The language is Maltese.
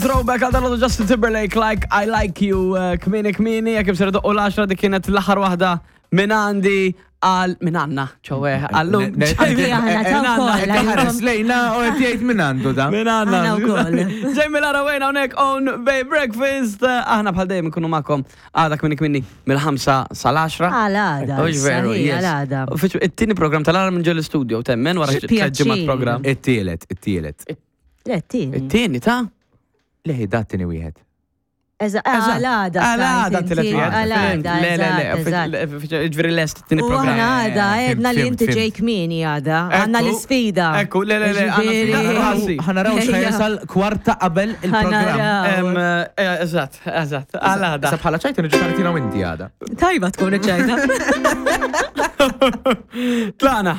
Throwback għal dal Justin Timberlake, Like I Like You, eh, kmini kmini, jek imsir doqqu l-10 dik kienet l-aħħar waħda minn għandi għal minn għanna, ċowe, għallu. Ħares lejna u qed jgħid minn għandu da. Minn għanna. Aħna wkoll. Jamie Lara Wayne hawnhekk on Bay Breakfast. Eh, Aħna bħal dejjem nkunu magħkom għada kmini kmini mill-5 sal-10. Għal għada. Ux veru, sahi, yes. Għal għada. Uffiċ- It-tieni program tal-għara minn ġol studio temmen wara Xi xi tliet ġimgħat pjaċir. program. It-tielet, it-tielet. Le, t-tieni. It-tieni ta' Leħi da t-tieni wieħed. Eżatt, Għal għada. Għal għada stajt t-tielet inti, wieħed. Għal għada, Le, le, le, eżatt, eżatt. ġifieri lest it-tieni U program. aħna għada, Eh, għedna li fhimt, inti fhimt. ġej kmieni għada. Għanna Ekku, l-sfida. Ekku, le, le, le, għanna Ġifieri- sfida. Rasi. Ħanaraw x'ħajasal kwarta qabel il-programm. Ħanaraw. Em, eh, Eżatt, eżatt, għal għada. Sa bħala ċajta niġu tartina u inti għada. Tajba tkun iċ-ċajta. Tlaqna.